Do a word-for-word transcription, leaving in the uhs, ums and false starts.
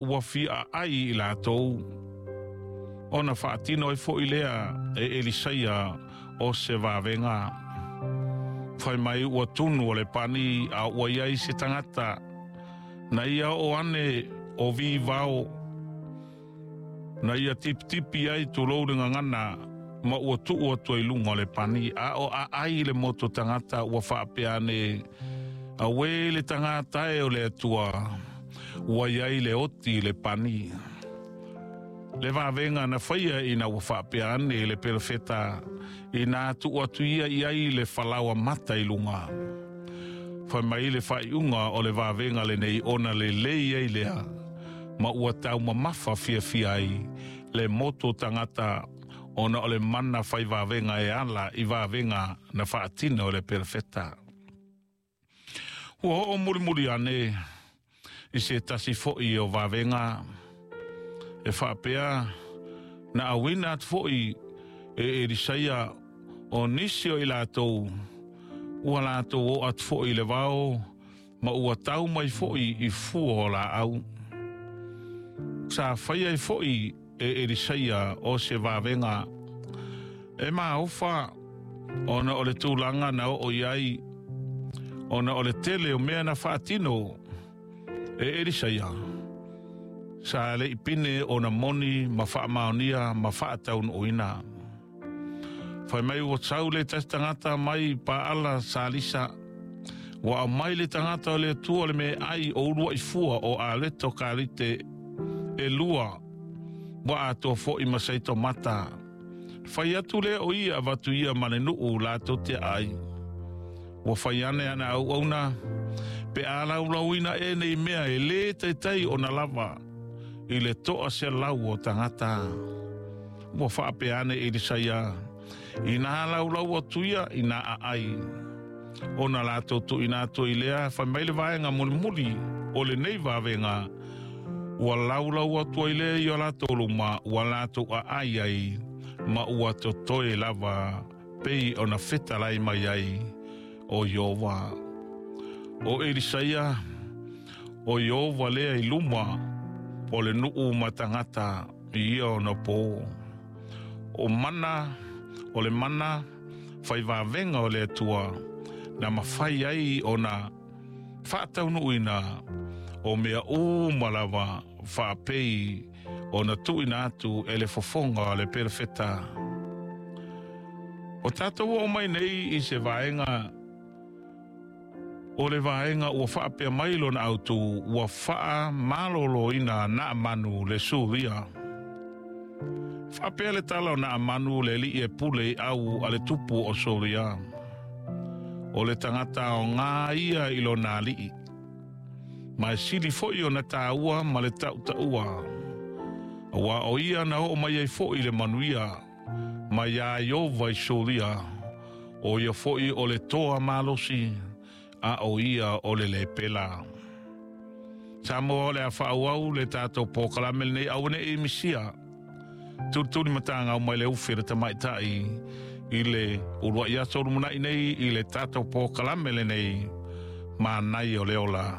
Ua fia aai i latou ona faatino ai foʻi lea e Elisaia o se vavega. Fai mai ua tunu o le pani a ua iai se tagata na ia o ane o vi vao na ia tipitipi ai tulou le gagana ma ua tuu atu ai luga o le pani a o aai le moto tagata ua faapea ane auē le tagata e o le Atua ua iai le oti i le pani. Le vavega na faia ina ua faapea ane le perofeta ina tuu atu ia i ai le falaoa mata i luga. Fai mai le faaiuga o le vavega lenei ona lelei ai lea ma ua taumamafa fiafia ai le moto tagata ona o le mana fai vavega e ala i vavega na faatino e le perofeta. Ua oo mulimuli ane i se tasi foʻi o vavega e faapea na auina atu foʻi e Elisaia o nisi o i latou ua latou oo atu foʻi i le vao ma ua tau mai foʻi i fua o laau. Sa faia ai foʻi e Elisaia o se vavega e maofa ona o le tulaga na oo i ai ona o le tele o mea na faatino e Elisaia. Sa le i pine ona moni ma faamaonia ma faataunuuina. Fai mai ua sau le tasi tagata mai Paala Salisa. Ua aumai le tagata o le Atua le meaai o uluai fua o aleto kalite e lua ua atoa foʻi ma saitomata. Fai atu lea o ia avatu ia ma le nuu latou te ai. Ua fai ane ana auauna pe a laulauina e nei mea e lē taitai ona lava i le toa selau o tagata. Ua faapea ane Elisaia ina laulau atu ia ina aai. Ona latou tuuina atu i lea fai mai le vaega mulimuli o lenei vavega ua laulau atu ai lea i o latou luma ua latou aai ai ma ua totoe lava pei ona fetalai mai ai o Ieova. O Elisaia o Ieova lea i luma o le nuu ma tagata i ia ona po. O mana o le mana fai vavega o le Atua na mafai ai ona faataunuuina o mea uma lava faapei ona tuuina atu e le fofoga o le perofeta. O tatou oo mai nei i se vaega o le vaega ua faapea mai lona autū ua faamaloloina Naamanu le Suria. Faapea le tala o Naamanu le alii e pule i au a le tupu o Suria. O le tagata aoga ia i lona alii. Ma e sili foʻi ona taua ma le tautaua. Aua o ia na oo mai ai foʻi le manuia mai iā Ieova i Suria. O ia foʻi o le toa malosi a o ia o le lepela. Samoa o le a faaauau le tatou polokalame lenei aua nei misia. Tulituli matagau mai le ufi le tamaitai i le uluai aso lumanai nei i le tatou polokalame lenei manaia o le ola.